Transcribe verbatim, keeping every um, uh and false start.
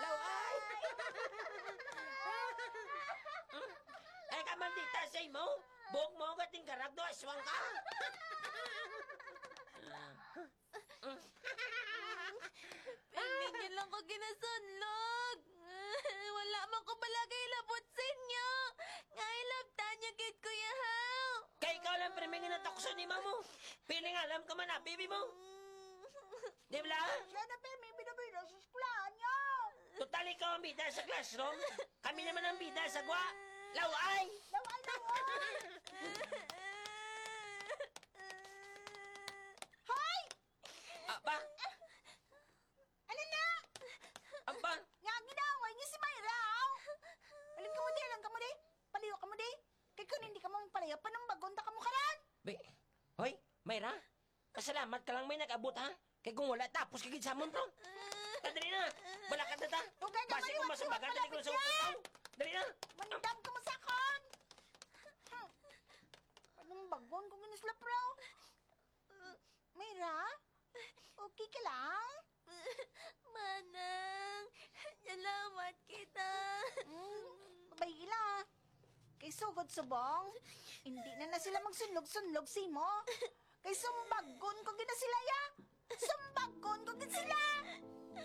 Laway! Ay, ka maldita sa imo! Buhok mo, gating karag, do aswang ka! Pirmi niyo lang ko ginasunlog. Wala man ko bala kay labot sa inyo. Nga ilabtan niyo gid ko, yahaw. Kay ikaw lang, pirmi nga natukso ni mamo. Piling alam ka man, ah, bibi mo. Di bala? Siya na, pirmi, bida-bida sa eskwelahan niya. Total, ikaw ang bida sa classroom. Kami naman ang bida sa gwa. Laway! Laway, laway! Hoy! Aba? Ano na? Aba? Nga, ginaaway niyo si Myra, oh! Alam ka mo di, alam ka mo di? Paliyo ka mo di? Kay kung hindi ka mo magpalayo, panumbagon ta ka mo karon! Be, hoy, Myra, kasalamat ka lang may nag-abot, ha? Kay kung wala, tapos ka gid sa amon, bro. Ta, dali na! Balakad na ta! Dugay na, Basi kung maliwat-liwat masubagan, pala dali ko sa kita! Dali na! Mandam ka mo sa akon! Hmm. Panumbagon ko gid sila, bro. Myra? Okay ka lang? Manang, salamat kita. Hmm, babay ila. Kay sugod subong, hindi na na sila magsunlog-sunlog simo. Kay sumbagon ko gid na sila, ya. Sumbagon ko gid sila.